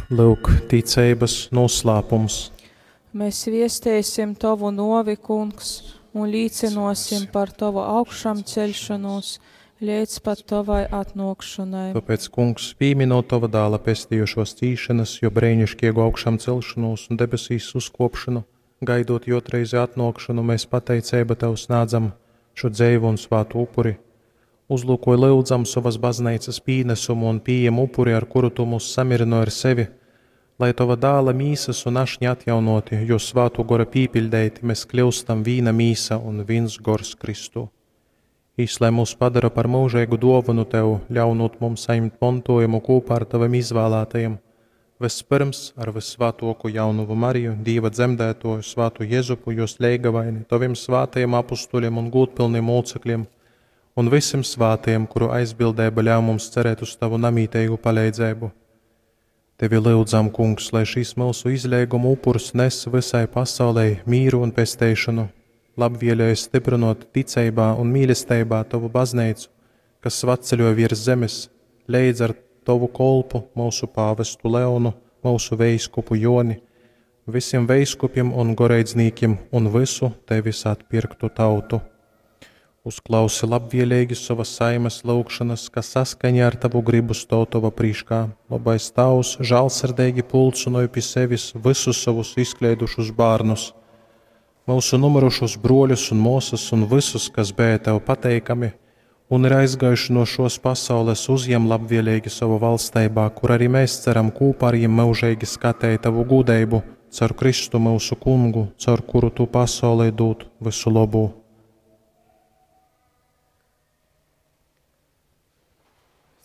Lyuk, ticeibas noslēpums. Mēs viesteisim Tovu novi, Kungs, un līcinosim par Tovu augšāmceļšanos līdz pat Tovai atnākšanai. Tāpēc, Kungs, pieminot Tava dēla pestījušos cīšanas, jo brēnišķīgu augšām celšanos un debesīs uzkopšanu, gaidot jotreizi atnākšanu, mēs pateicība Tev snādzam šo dzeivu un svātu upuri. Uzlūkoj lyudzam sovas baznīcas pīnesumu un pieejam upuri, ar kuru Tu mūs samirino ar sevi, lai Tava dēla mīsas un ašņa atjaunoti, jo svātu gora pīpiļdeiti, mēs kļūstam vīna mīsa un viens gors Kristū. Īslai mūs padara par mūžīgu dāvanu Tev, ļaunot mums saņemt mantojumu kopā ar Taviem izvēlētajiem, vispirms ar vissvētāko jaunuvu Mariju, Dieva dzemdētoju, svātu Jezupu, jos leigavaini, Taviem svātajiem apustuļiem un gūtpilniem mūcekļiem, un visiem svātajiem, kuru aizbildība ļauj mums cerēt uz Tavu namītīgu palīdzību. Tevi lūdzam, Kungs, lai šīs mūsu izlēguma upurs nes visai pasaulē mīru un pesteišanu, labvēlēji stiprinot ticībā un mīlestībā Tavu baznīcu, kas svatceļo virs zemes, leidz ar Tavu kolpu, mūsu pāvestu Leonu, mūsu veiskupu Joni, visiem veiskupiem un goreidznīkiem un visu Tevis atpirktu tautu. Uzklausi labvēlīgi savas saimes lūgšanas, kas saskaņā ar Tavu gribu stāv Tava prīškā. Labais Tavs žēlsirdīgi pulcinoja pie sevis visus savus izkleidušus bērnus, mūsu numirušos broļus un māsas un visus, kas bija Tev pateikami un ir aizgājuši no šos pasaules, uzņem labvēlīgi savu valstībā, kur arī mēs ceram kopā ar viņiem mūžīgi skatīt Tavu gudrību, caur Kristu mūsu kungu, caur kuru Tu pasaulē dod visu labu.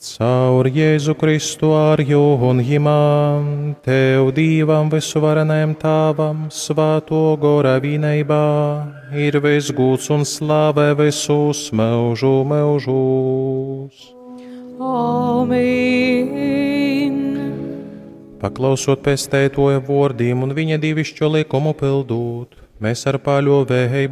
Caur Jēzu Kristu ar jū un jimā, Tev Dīvam visuvarenajam Tāvam, Svāto gora vienībā, ir viss gūts un slāve visus mūžu mūžus. Amen. Paklausot pestētoja vārdiem un viņa dievišķo likumu pildūt, mēs ar paļovēju